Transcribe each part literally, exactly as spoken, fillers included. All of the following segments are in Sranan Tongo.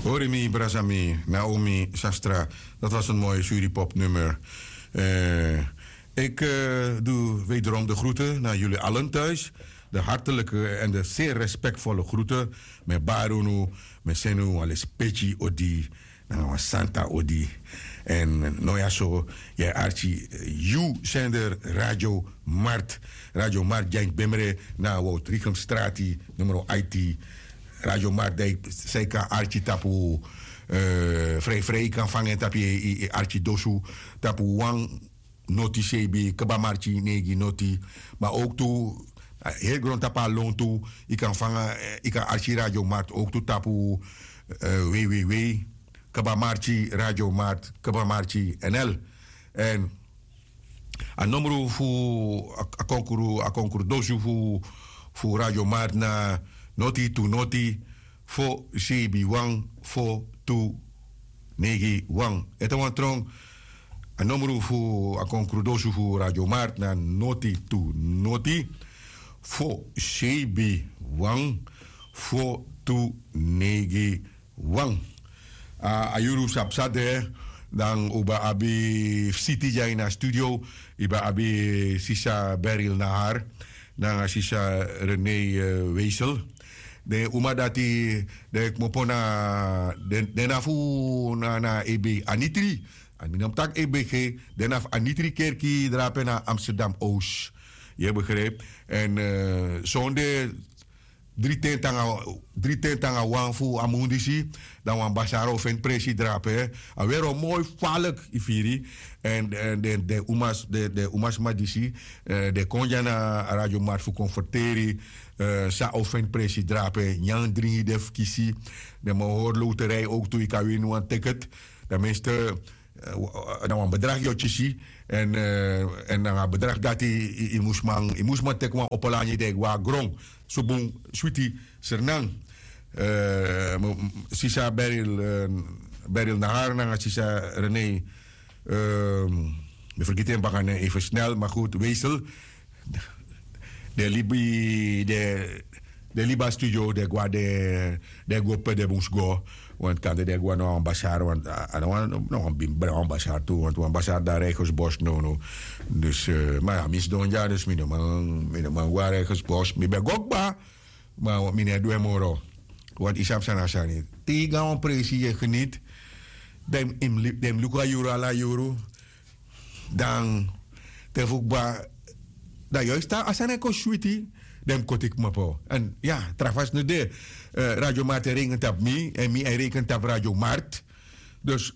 Hori mi brasami Naomi Sastra. Dat was een mooi Suripop-nummer. Eh, ik eh, doe wederom de groeten naar jullie allen thuis. De hartelijke en de zeer respectvolle groeten. Met Barunu, met Senu, Alespeci, Odi, nanga wan santa odi. En noya so, ya archi, eh, yu sender Radio Mart. Radio Mart, Jain Bemre, na Woutrichem Strati, nummer I T. Radio Mart, dai, sai kan archi tapu, eh, vrij vrij kan vangen tapu i, i, i archi dosu, tapu wan noti sebi, kaba marchi negi noti. Maar ook tu, eh, heel grond tapu a lon tu, i kan vangen, eh, i kan archi Radio Mart ook tu tapu, eh, W W W. Kaba Marchi Radio Mart, Kaba Marchi N L. En a nomru fu a, a konkru, a konkru dosu fu, fu Radio Mart na noti tu noti, fo sebi wan, fo tu negi wan. Ete wan trong, a nomru fu a konkru dosu fu Radio Mart na noti tu noti, fo sebi wan, fo tu negi wan. A, a yuru sabi san de, dan un ben abi visiti dya ini a studio, yu ben abi sisa Beryl Nahar, nanga sisa René, eh, Weisel. Den uma dati, den kmopo na, den, den na fu na, na E B, Anitri. A mi no mus taki E B G, den na fu Anitri kerki drape na Amsterdam Oost. Yu begrijp? En, eh, sonde dri ten te nanga, dri ten te nanga wan fu a mun disi, dan wan basar o feni presi drape. A weri o moi falek, yu firi. En, en den, den umas, den, den umasma disi, eh, den kon dya na Radio Mart fu kon ferteri, eh, san o feni presi drape, nyan dringi den fu kisi, den man hori loterij ook tu, yu kan wini wan ticket. Dan minste, eh, w-, eh, na wan bedrag yu o kisi. En, eh, en nanga a bedrag dati, yu, yu mus man, yu mus man teki wan opo lani di e go na gron. So bun, switi, sernan. Eh, m-, m-, sisa Beryl, eh, Beryl Nahar nanga sisa René, eh, mi fergiti en baka nen even snel, maar goed, Weisel. Den libi, den, den libi a studio, den go na den, den go pe den mus go. Want kande den go na wan basar, want a, a no wan, no wan bin, wan basar tu, want wan basar dan Reigersbos, no, no. Dus, eh, maar a mi sidon dya, dus mi no man, mi no man go na Reigersbos. Mi ben go kba, maar mi no e du en moro. Want yu sabi san na sani. Te yu go na wan presi, yu e geniet. Den mus, den mus luku a yuru, ala yuru. Dan te fu kba, dan yu e si taki a sani e kon switi, den mus koti kmopo. En ya, tra fasi no de, eh, Radio Mart e reken tapu mi, en mi e reken tapu Radio Mart. Dus,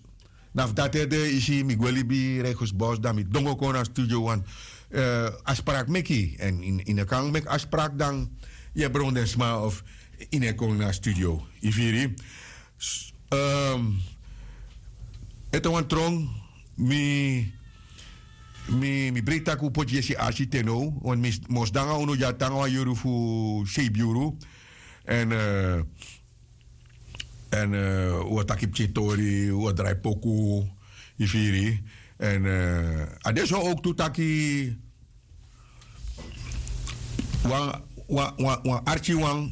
na fu dati ede, yu si, mi gwe libi Reigersbos, dan mi dongo kon na studio, want, eh, afspraak meki. En yu, yu no kan meki afspraak, dan yu e bron den sma of yu no e kon na studio. Yu firi? S-, ehm, ete wan trong, mi, mi, mi breiti taki un poti yesi arki te now, want mi, mi o sidon nanga unu dya te nanga wan yuru fu seibin yuru. En, eh, en, eh, un o taki pikin tori, un o drai poku, yu firi. En, eh, a de so ook tu taki, wan, wan, wan, wan arki wan,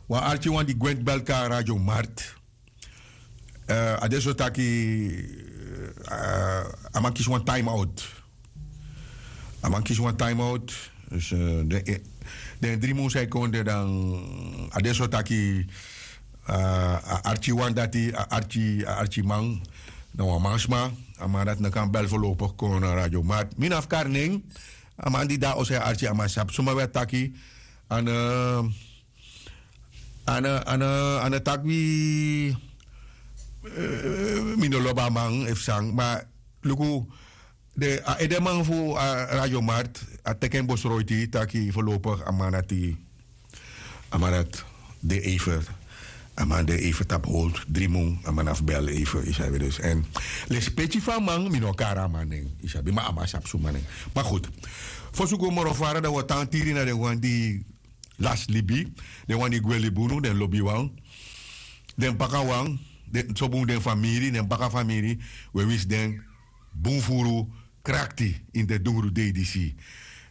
wan arki wan di gwe ini belka Radio Mart. Eh, a de so taki, eh, a man kisi wan time out. A man kisi wan time out. Dus, eh, den, eh, den dri mun san yu kon de dan, a de so taki, eh, a arki wan dati, a arki, a arki man, na wan mansma, a man dati no kan bel voorlopig kon na Radio Mart. Mi no abi kari nen, a man di de na oso e arki, a man sabi suma wi e taki, en, eh, a no, a no, a no taki wi, eh, mi no lobi a man efu san, ma luku, de, a edeman fu a Radio Mart, a teki en besluit taki voorlopig a man dati, a man dati de even, a man de even tapu hold, dri mun, a man abi bel even, yu sabi dus. En lespeki fu a man, mi no kari a man nen, yu sabi, ma a man sabi suma nen. Maar goed, fosi un go moro fara dan wi o tan tiri na den wan di lasi libi, den wan di gwe libi unu, den lobiwan, den bakawan, den, so bun den famiri, den baka famiri, wi e winsi den bun furu krakti ini den dungru dei disi.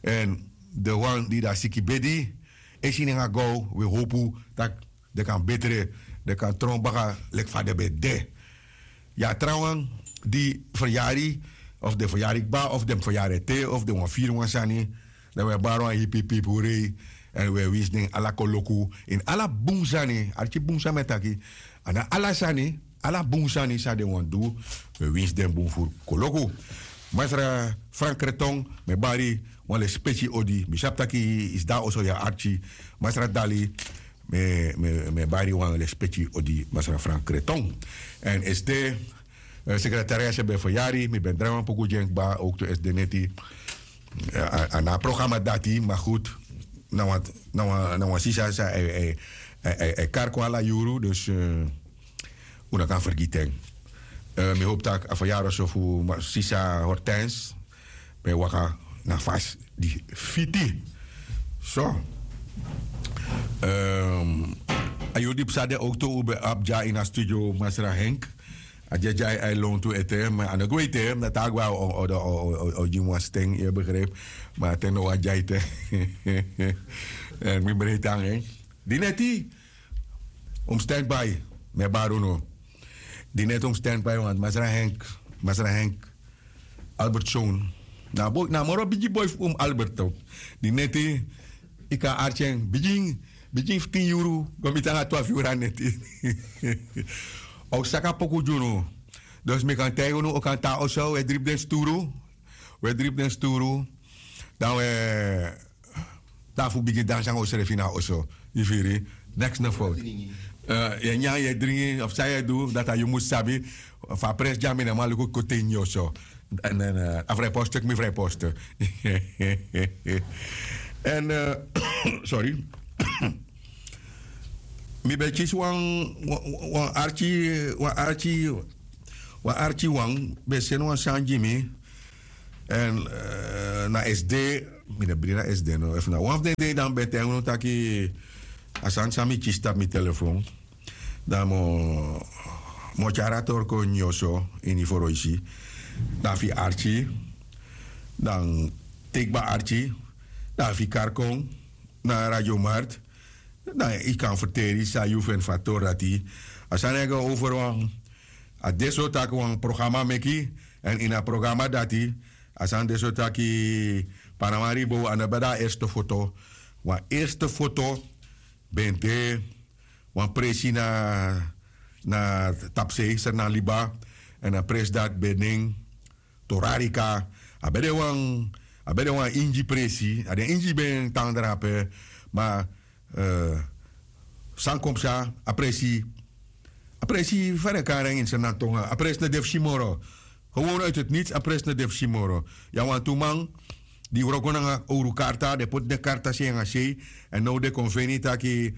En den wan di de na siki bedi, esi nanga gaw, wi e howpu taki den kan betre, den kan tron baka leki fa den ben de. Ya trawan di feryari, of den feryari kba, of den feryari ete, of den wan firi wan sani, dan wi e bari wan hipi pipi hurei. Èn wi e winsi den ala koloku ini ala bun sani, arki bun san mi e taki. A na ala sani, ala bun sani san den wan du, wi e winsi den bun furu koloku. Masra Frank Kreton, mi e bari wan lespeki odi, mi sabi tak' yu sidon na oso, yu e arki. Masra Dali, mi e bari wan lespeki odi, masra Frank Kreton. Èn esde, sekretariat ben feryari, mi ben drai wan poku gi en kba, owktu esde neti. A na a programa dati, ma gudu, na wan sisa san e kari kon ala yuru, dus un no kan fergiti en. Mi howpu tak' a feryari oso fu sisa Hortense ben waka na fasi di fiti. So, a yuru di psa de owktu un ben abi dya ini a studio, masra Henk. A dya dya e lontu ete, ma a no gwe ete, na taki wan o gi mi wan sten, yu e begrijpi. Ma a ten no wani dya ete. Èn mi breiti nanga en. Di neti un mus stand by, mi e bari unu. Di neti un mus stand by, want masra Henk, masra Henk, Albert Schoon, na a moro bigi boi fu un, Albert, tok. Di neti yu kan arki en, bigin, bigin fu tin yuru go miti nanga twafu yuru a neti. A o saka poku gi unu. Dus mi kan taigi unu, un kan tan na oso, un e dribi den sturu. Un e dribi den sturu. Dan un e tan fu bigin dansi nanga unsrefi na oso. Yu firi? Neks no fowtu. Yu e nyan, yu e dringi, of san yu e du, dati a yu mus sabi. Fu a presi dya mi no man luku kote ini yu oso. Èn a vrijpost, teki mi vrijpost. Èn, sorry. Mi ben kisi wan, wan arki, wan arki, wan arki wan ben seni wan sani gi mi. Èn na esde, mi no bri na esde no. Efu na wan fu den dei, dan mi ben taigi unu taki a sani san mi kisi tapu mi telefon, dan mi o tyari a tori kon ini yu oso, ini foroisi. Dan efu yu arki, dan teki kba arki. Dan efu yu kari kon na Radio Mart, dan yu kan ferteri san yu feni fu a tori dati. A sani e go over wan, a de so taki wan programa meki, èn ini a programa dati, a sani de so taki Panama Ribo, a no ben de a eerste foto. Wan eerste foto ben de wan presi na, na tapusei, Sranan Liba, èn a presi dati ben nen Torarika. A ben de wan, a ben de wan Ingi presi, a den Ingi ben tan drape, ma san kon psa, a presi, a presi, fa den e kari en ini Sranan tongo, a presi no de fu si moro. Gewoon uit het niets, a presi no de fu si moro. Yu abi wantu man di wroko nanga owru karta, den poti den karta sei nanga sei, èn now den kon feni taki,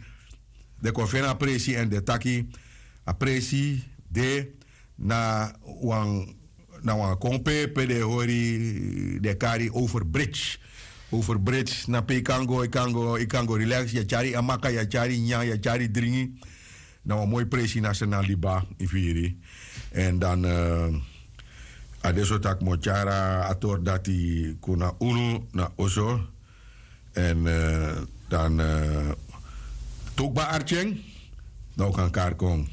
den kon feni a presi èn den taki a presi de na wan, na wan kon pe, pe den e hori, den e kari over bridge. Over bridge, na pe yu kan go, yu kan go, yu kan go relax, yu e tyari amaka, yu e tyari nyan, yu e tyari dringi. Na wan moi presi na Sranan Liba, yu firi. Èn dan a de so taki mi o tyari a tori dati kon na unu na oso. Èn dan te un kba arki en, dan un kan kari kon.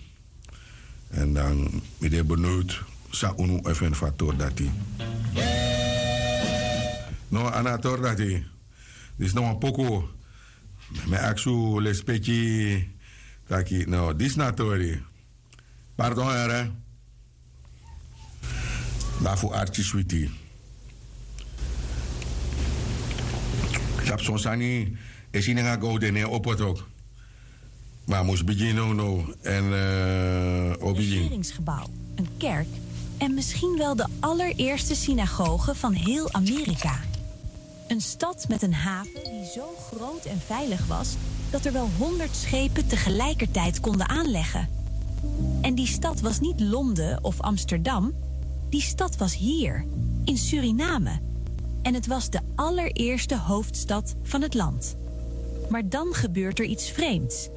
Èn dan mi de benieuwd san unu e feni fu a tori dati. No, a no a tori dati. Disi na wan poku. Mi e aksi un lespeki taki, no, disi na a tori. Pardon, here. Lafu arki switi. Sabi son sani e si nanga gowden ne en opo tok. Ma a mus bigin nownow. Èn o bigin. Regeringsgebouw, een kerk en misschien wel de allereerste synagoge van heel Amerika. Een stad met een haven die zo groot en veilig was dat er wel honderd schepen tegelijkertijd konden aanleggen. En die stad was niet Londen of Amsterdam. Die stad was hier, in Suriname. En het was de allereerste hoofdstad van het land. Maar dan gebeurt er iets vreemds.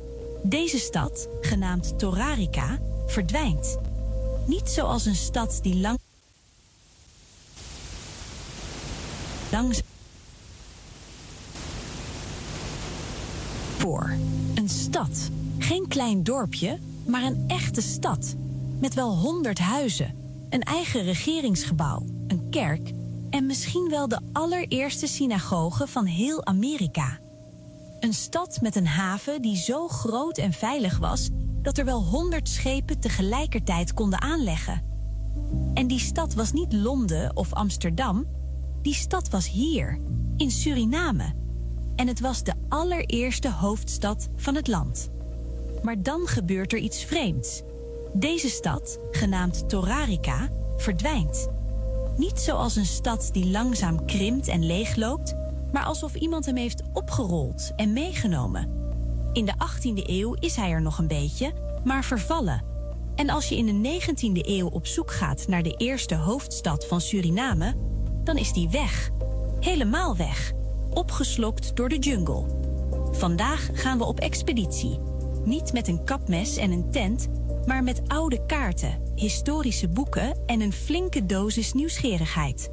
Deze stad, genaamd Torarica, verdwijnt. Niet zoals een stad die lang Langzaam. Voor. Een stad. Geen klein dorpje, Maar een echte stad, met wel honderd huizen, een eigen regeringsgebouw, een kerk en misschien wel de allereerste synagoge van heel Amerika. Een stad met een haven die zo groot en veilig was dat er wel honderd schepen tegelijkertijd konden aanleggen. En die stad was niet Londen of Amsterdam, die stad was hier, in Suriname. En het was de allereerste hoofdstad van het land. Maar dan gebeurt er iets vreemds. Deze stad, genaamd Torarica, verdwijnt. Niet zoals een stad die langzaam krimpt en leegloopt, maar alsof iemand hem heeft opgerold en meegenomen. In de achttiende eeuw is hij er nog een beetje, maar vervallen. En als je in de negentiende eeuw op zoek gaat naar de eerste hoofdstad van Suriname, dan is die weg. Helemaal weg. Opgeslokt door de jungle. Vandaag gaan we op expeditie. Niet met een kapmes en een tent, maar met oude kaarten, historische boeken en een flinke dosis nieuwsgierigheid.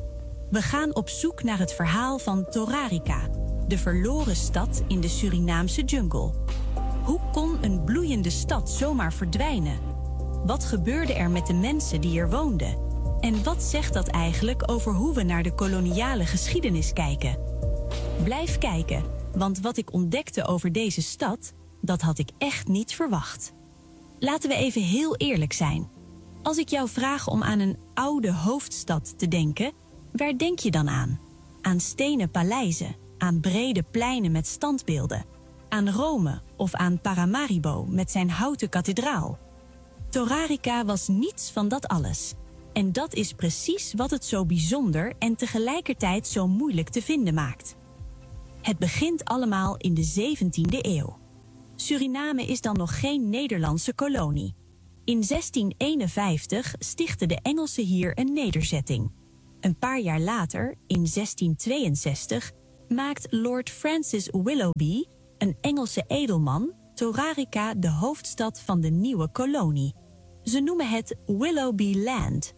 We gaan op zoek naar het verhaal van Torarica, de verloren stad in de Surinaamse jungle. Hoe kon een bloeiende stad zomaar verdwijnen? Wat gebeurde er met de mensen die er woonden? En wat zegt dat eigenlijk over hoe we naar de koloniale geschiedenis kijken? Blijf kijken, want wat ik ontdekte over deze stad, dat had ik echt niet verwacht. Laten we even heel eerlijk zijn. Als ik jou vraag om aan een oude hoofdstad te denken, waar denk je dan aan? Aan stenen paleizen, aan brede pleinen met standbeelden, aan Rome of aan Paramaribo met zijn houten kathedraal? Torarica was niets van dat alles. En dat is precies wat het zo bijzonder en tegelijkertijd zo moeilijk te vinden maakt. Het begint allemaal in de zeventiende eeuw. Suriname is dan nog geen Nederlandse kolonie. In zestien eenenvijftig stichten de Engelsen hier een nederzetting. Een paar jaar later, in zestien tweeënzestig, maakt Lord Francis Willoughby, een Engelse edelman, Torarica de hoofdstad van de nieuwe kolonie. Ze noemen het Willoughby Land.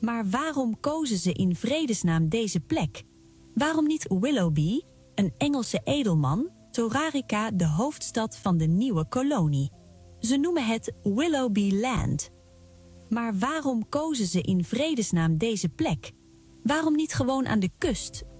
Maar waarom kozen ze in vredesnaam deze plek? Waarom niet Willoughby, een Engelse edelman, Torarica de hoofdstad van de nieuwe kolonie? Ze noemen het Willoughby Land. Maar waarom kozen ze in vredesnaam deze plek? Waarom niet gewoon aan de kust?